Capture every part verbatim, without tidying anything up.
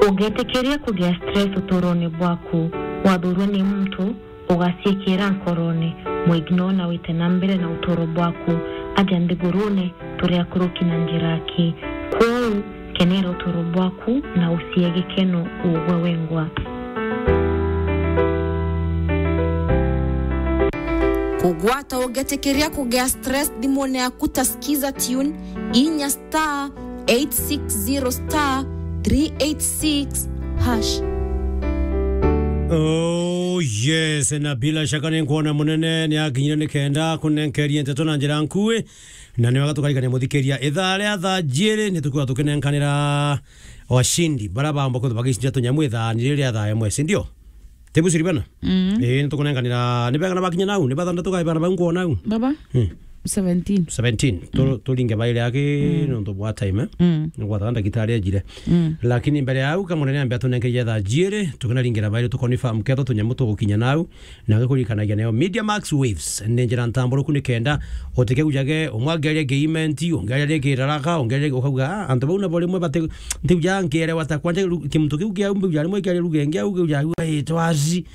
Ugetikiria kugia stress uturone bwaku. Wathurwa ni muntu, ugaciikira nkorone, muignore na wite na mbere na uturo bwaku. Aja nthigurune, turi akuruki na njira aki. Kwou, kenera uturo bwaku na ucie gikeno ugwe wengwa. Kugwata ugetikiria kugia stress thimune yaku ta Skiza Tune, inya star eight six zero star three eight six hash. Oh yes, na bila shaka ni nkwona munene ni akinyire ni kenda kunenkeria nteto na njira nkui, na ni wega tukarikania muthikiria ithaa ria thaa jiri ni tukwira tukinenkanira washindi bara bamba kwithwa bagicinda tunyamu ithaa ni riria thaa imwe, si ndio? Tebu siri bana? Mm. Eh, ni tukunenkanira, ni bega na bakinya nau, ni bathandatu kai bana bau nkwona nau. Baba? Hmm. Seventeen. Seventeen. Tu-, turinge baire aki, mm, nontu bwa time, eh? Mm. Ni gwatha ndagitari ajire. Mm. Lakini mbere ya au, kamunene ambe atunenkerie thaa jiri, tukinaringira baire tukonfirm ketho tunyamu tugukinya nau, na ngikurikanagia nayo Media Max Waves. Ni njira ntamburuku ni kenda utikegujage, umwe ageria ngeimenti, ungeria ngeiraraka, ungeria ukauga, "Ah, antu bau nabo rimwe bati-, ntiuja nkiere wata kwanja ru-, kimuntu kiu kia umbe uja rimwe kiaria ruge ngia uge uja ua itwazi."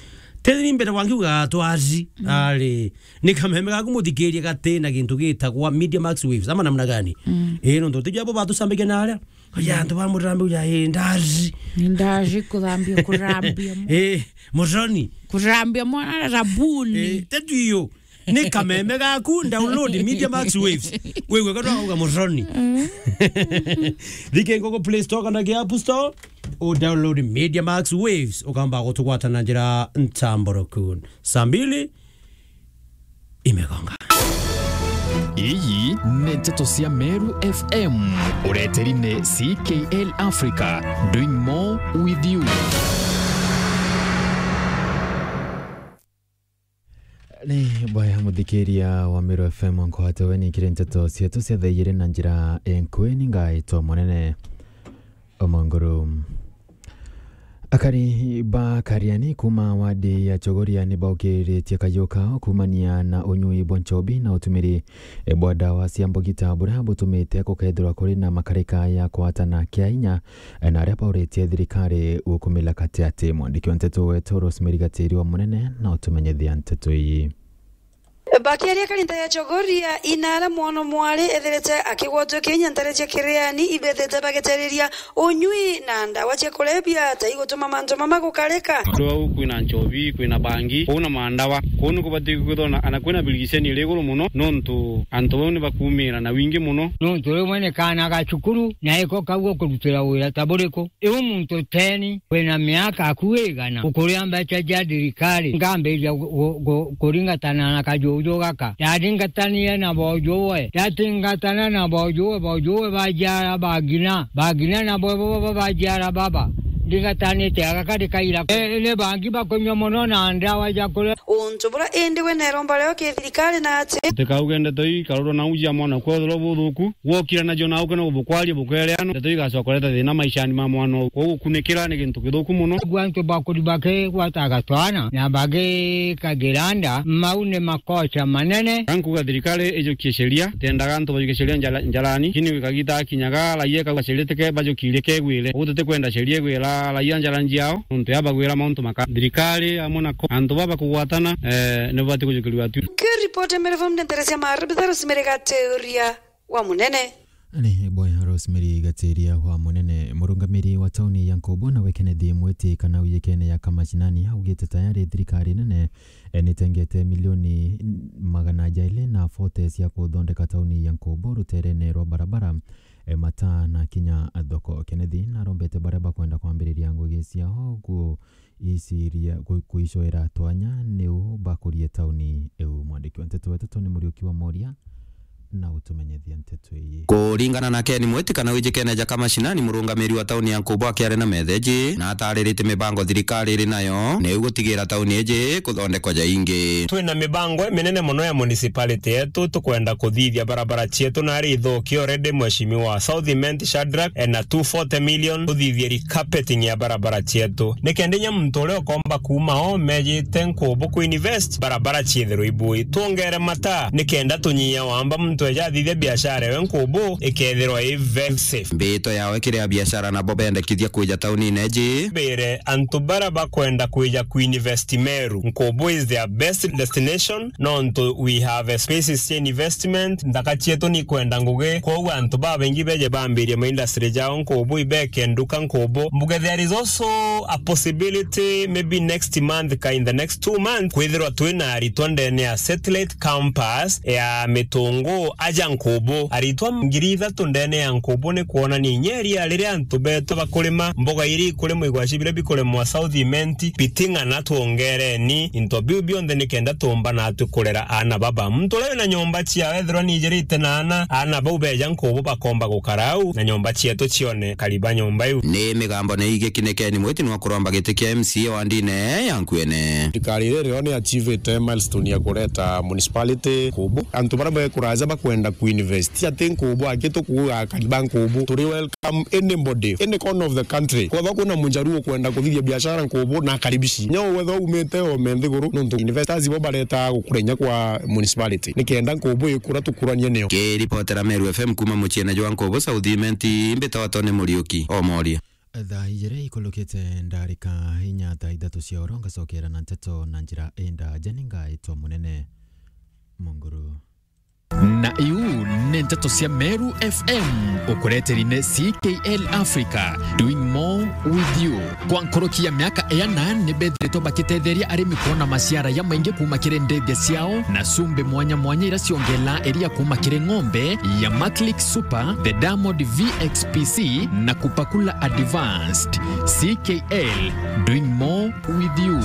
Tethiri mbere wangi uga twazi. Mm. Ari, ni kameme gaku muthikirie gati na gintu gitagwa Media Max Waves, ama namna gani? Mm. Eh, nontu tija bo batusambagia na aria. Kaja antu ba murambe uja, eh, ndazi. Ndazi kuthambia, kurambia mo-, eh, muroni. Kurambia mwana rabuni. Eh, tetu iyo. Ni kameme gaku, download Media Max Waves. Wewe kana uga muroni. Mm. Thike ngoko Play Store kana ki App Store, u download Media Max Waves, ukamba gutugwata na njira ntamburuku. Saa mbili imegonga. Iyi ni nteto cia Meru F M. Ureteri ni C K L Africa, doing more with you. Ni bwaya muthikiria wa Meru F M, nkwate we ni kiri nteto cietu cia thaa ijiri na njira enkwe ni ngaitwa munene Omonguru. Akari ba Kariani kuma wadi ya Chogoria ni baukiritie kayu kao kumania na unyui bwa nchobi na utumiri bwa ndawa cia mbugita buria butumite gukethirwa kuri na makarika ya kwatana kia inya na aria bauritie thirikari gukumila katiati. Mwandiki wa nteto wetu Rosemary Gatiri wa Munene na utumenyithia nteto ii. Bakiaria karinda ya Chogoria, Inara mwana mwari ethirite akigwatwa kinya ntare cia Kiriani ibethite bagitariria unyui na ndawa cia kurebia ta igutuma mantu mama gukarika. Andu au kwina nchobi, kwina bangi, kuu na mandawa. Kuu ni kubati kwithona ana kwina birigiceni iri iguru muno, nontu antu bau ni bakumira na wingi muno. Nontu rimwe ni kaana ga cukuru, na iko kau gukurutira wira ta buriku. Iu muntu teni wina miaka aku igana, ukuria mbeca cia thirikari, ngambiria gu-, gu-, gu-, kuringatana na kajuju gaka. Ndaringatanire na bojuwe, ndatingatana na bojuwe, bojuwe bajiara bagina, bagina na bo, bo, bo, bajiara baba. Ndingatanite aga kari kaira. E, ni bangi bakunywa muno na ndawa cia kuria. Untu bura indi we neromba reo ki thirikari na ati. Utikauge ndeto ii, karurwa na uji ya mwana kwethirwa buthuku. Gwokira nacio na ukena bukwaria bukereano, ndeto igacoka kureta thina maishani ma mwana uu. Kwou gukunikira ni gintu kithuku muno. Gwa antu bakuri bakigwataga twana na bagikagira nda, mau ni makosa manene. Ka nkuga thirikari ijukie sheria, itendaga antu bajukie sheria njara-, njarani, lakini wikagita akinyaga raia kauga sheria tike bajukirie kegwire. Kwou tutikwenda sheria igwira raia njara njiao, nontu yabagwira mauntu maka. Thirikari amwe na ko-, antu baba kugwatana, eh, ni babati kujukirua tu. Kiripoti ya Meru F M ndetere cia Maru, Rosemary Gateuria wa Munene. Ni bwaya Rosemary Gatiria wa Munene. Murungamiri wa tauni ya Nkobo nawe Kennedy Mwiti kana uyekene ya Kamashinani augite tayari thirikari nene, eh, nitengete milioni magana jaili na forty cia kuthondeka tauni ya Nkobo ruterene rwa barabara, eh, mataa na kinya thoko. Kennedy narombete baria bakwenda kwambiriria ngugi ciao ku- iciria ku-, kuicoera twanya niu bakurie tauni iu. Mwandiki wa nteto wetu Tony Muriuki wa Moria na utumenyethia nteto ii. Kuringana na Ken Mwiti kana wijikene ja Kamashinani, murungamiri wa tauni ya Nkubu akiaria na metheji, na atariritie mibango thirikari iri nayo niu gutigira tauni iji kuthondekwa ja ingi. Twina mibango iminene muno ya municipality yetu, tukwenda kuthithia barabara cietu nari ithuki already, Mheshimiwa South Imenti Shadrack ena two forty million tuthithie carpeting ya barabara cietu. Ni kenda inya muntu uria ukomba kuuma o mejite Nkubu ku invest, barabara ciithirwe ibui. Twongere mataa, ni kenda tunyia wamba muntu Tweja thithia biashara ewe nkubu ikethirwa i very safe. Mbito yawe kiri a biashara nabo bendekithia kwija taunine ji. Mbire antu bara bakwenda kwija kuinvest Meru, nkubu is their best destination, nontu we have a spaces cia investment, nthaka cietu ni kwenda ngugi, kwogu antu babaingi beje bambirie ma industry jao nkubu ibeke nduka nkubu. Mbuge there is also a possibility maybe next month ka in the next two months kwithirwa twina aritwa ndene ya satellite campus ya Mitungu aja nkubu. Aritwa ngiri ithatu ndene ya nkubu ni kwonania inya iria riria antu betu bakurima mboga iria ikurimwa igwaci biria bikurimwa South Imenti, biting'ana twongereni into biu bionthe nikenda tuumba natwi kurera aana baba. Muntu uria wina nyomba ciawe ethirwa nijirite na aana, aana bau beja nkubu bakomba gukara au na nyomba cietu cione kariba nyomba iu. Ni migambo ni igikinikeni mwiti nwa kuromba giti kia M C A wa ndine ya Nkuene. Thirikari iria rio ni achievite milestone ya kureta municipality nkubu. Antu baria bekuraja bakwenda kuinvest. Ti ati nkubu aki tukuuga kariba nkubu. Turi welcome anybody, any corner of the country. Kwethwa kwina mujaruo kwenda kuthithia biashara nkubu na akaribici. Nyo wethwa umite ome nthiguru nontu investors bo bareta gukurenya kwa municipality. Nikenda nkubu ikura tukuranie nio. Kiripotera Meru F M kuma muciene jwa nkubu South Imenti, mbitwa Tony Muriuki, Omoria. Thaa ijiri ikulukite ndarika inya thaa ithatu cia oro, ngacokera na nteto na njira indaja, ni ngaitwa Munene Munguru. Na iu ni nteto cia Meru F M, ukureteri ni C K L Africa, doing more with you. Kwa nkuruki ya miaka iana, ni bethiritwe bakitetheria arimi kwona maciara ya maingi kuma kiri ndethia ciao na cumbi mwanya mwanya ira ciongelaa iria kuma kiri ng'ombe ya Maclick Super, the Diamond V X P C na Kupakula Advanced. C K L, doing more with you.